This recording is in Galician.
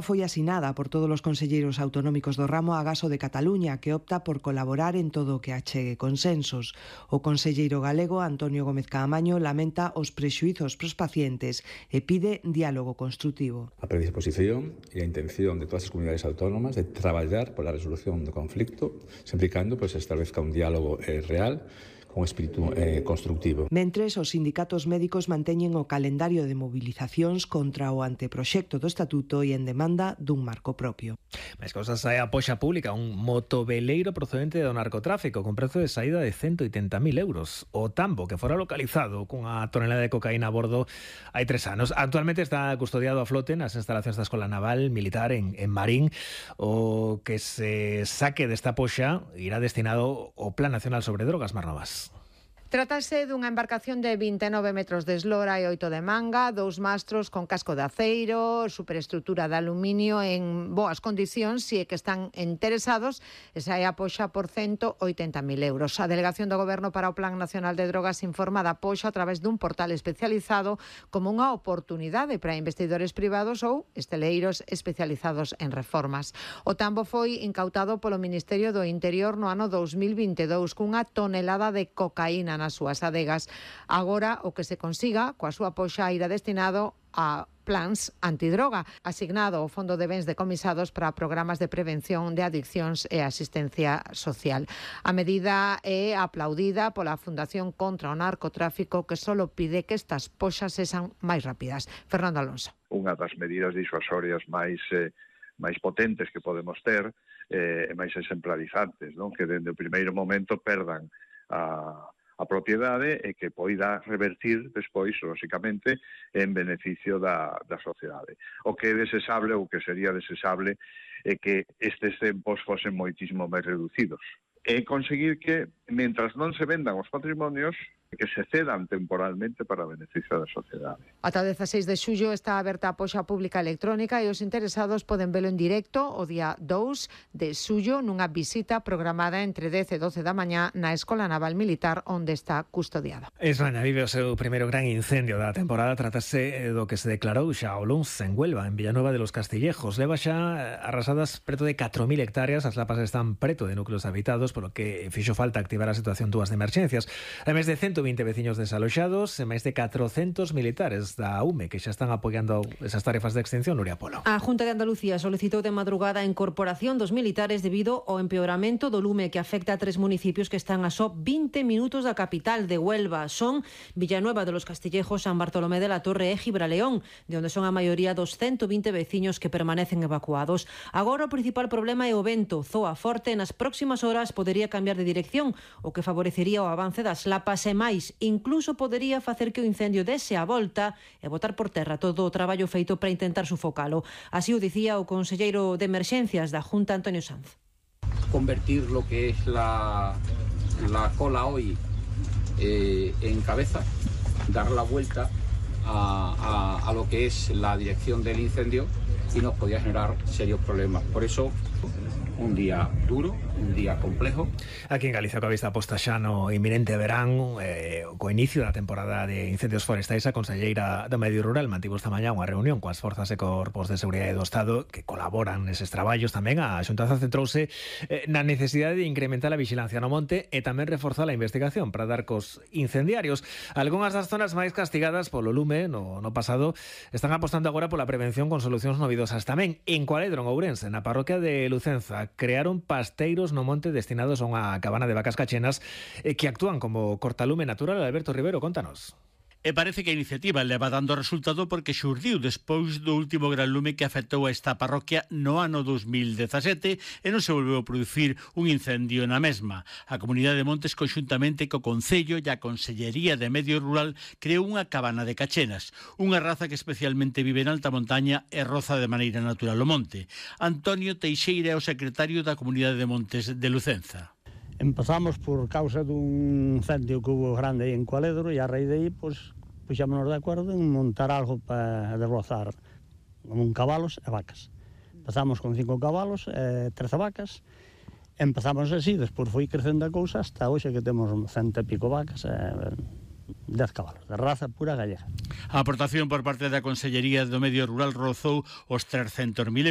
foi asinada por todos os conselleiros autonómicos do ramo Agaso de Cataluña, que opta por colaborar en todo o que achegue consensos. O conselleiro galego Antonio Gómez Caamaño lamenta os prexuizos pros pacientes e pide diálogo construtivo. A predisposición e a intención de todas as comunidades autónomas de traballar pola resolución do conflicto, sempre e cando se establezca un diálogo real, con espírito constructivo. Mentres, os sindicatos médicos manteñen o calendario de movilizacións contra o anteproxecto do Estatuto e en demanda dun marco propio. Máis cosas, hai a poxa pública, un motoveleiro procedente do narcotráfico con prezo de saída de 180.000 euros. O tambo, que fora localizado cunha tonelada de cocaína a bordo hai 3 anos. Actualmente está custodiado a flote nas instalacións da Escola Naval Militar en Marín. O que se saque desta poxa irá destinado ao Plan Nacional sobre Drogas. Mar Novas. Trátase dunha embarcación de 29 metros de eslora e 8 de manga, 2 mastros con casco de aceiro, superestrutura de aluminio en boas condicións, e que están interesados, esa é a poxa por 180.000 euros. A Delegación do Goberno para o Plan Nacional de Drogas informa da poxa a través dun portal especializado como unha oportunidade para investidores privados ou esteleiros especializados en reformas. O tambo foi incautado polo Ministerio do Interior no ano 2022 cunha tonelada de cocaína nas súas adegas. Agora, o que se consiga coa súa poxa irá destinado a plans antidroga, asignado ao Fondo de Bens Decomisados para programas de prevención de adiccións e asistencia social. A medida é aplaudida pola Fundación contra o Narcotráfico, que só pide que estas poxas sexan máis rápidas. Fernando Alonso. Unha das medidas disuasorias máis potentes que podemos ter e máis exemplarizantes, non? Que dende o primeiro momento perdan a propiedade e que poida revertir despois, lóxicamente, en beneficio da sociedade. O que é desexable, ou que sería desexable, é que estes tempos fosen moitísimo máis reducidos. E conseguir que, mentras non se vendan os patrimonios, que se cedan temporalmente para beneficio da sociedade. Ata 16 de xullo está aberta a poxa pública electrónica e os interesados poden velo en directo o día 2 de xullo nunha visita programada entre 10 e 12 da mañá na Escola Naval Militar, onde está custodiada. Esraña vive o seu primeiro gran incendio da temporada. Trátase do que se declarou xa o luns en Huelva, en Villanueva de los Castillejos. Leva xa arrasadas preto de 4.000 hectáreas. As lapas están preto de núcleos habitados, polo que fixo falta activar a situación túas de emerxencias. Hai máis de 120 veciños desaloxados e máis de 400 militares da UME que xa están apoiando esas tarefas de extinción. Nuria Polo. A Junta de Andalucía solicitou de madrugada a incorporación dos militares debido ao empeoramento do lume que afecta a 3 municipios que están a só 20 minutos da capital de Huelva. Son Villanueva de los Castillejos, San Bartolomé de la Torre e Gibraleón, de onde son a maioría dos 120 veciños que permanecen evacuados. Agora o principal problema é o vento. Zoa forte nas próximas horas podería cambiar de dirección, o que favorecería o avance das lapas e máis. Incluso podería facer que o incendio dese a volta e botar por terra todo o traballo feito para intentar sufocalo. Así o dicía o conselleiro de Emerxencias da Junta, Antonio Sanz. Convertir lo que es la cola hoy en cabeza, dar la vuelta a lo que es la dirección del incendio y nos podía generar serios problemas. Por eso, un día duro, un día complejo. Aquí en Galicia, coa vista posta xa no inminente verán, co inicio da temporada de incendios forestais, a conselleira do Medio Rural mantivo esta mañá unha reunión coas forzas e corpos de seguridade do Estado que colaboran neses traballos. Tamén a Xuntanza centrouse na necesidade de incrementar a vixilancia no monte e tamén reforzar a investigación para dar cos incendiarios. Algunhas das zonas máis castigadas polo lume no pasado están apostando agora pola prevención con solucións novidosas. Tamén en Cualedro, en Ourense, na parroquia de Lucenza, crearon pasteiros no monte destinados a unha cabana de vacas cachenas que actúan como cortalume natural. Alberto Rivero, contanos. E parece que a iniciativa leva dando resultado porque xurdiu despois do último gran lume que afectou a esta parroquia no ano 2017 e non se volveu a producir un incendio na mesma. A Comunidade de Montes, conxuntamente co Concello e a Consellería de Medio Rural, creou unha cabana de cachenas, unha raza que especialmente vive en alta montaña e roza de maneira natural o monte. Antonio Teixeira é o secretario da Comunidade de Montes de Lucenza. Empezamos por causa dun incendio que hubo grande aí en Cualedro e a raíz de aí, puxámonos de acordo en montar algo para derrozar con cabalos e vacas. Empezamos con 5 cabalos e 13 vacas. Empezamos así, despois foi crecendo a cousa hasta hoxe que temos 100 e pico vacas e 10 cabalos, de raza pura gallega. A aportación por parte da Consellería do Medio Rural rozou os 300.000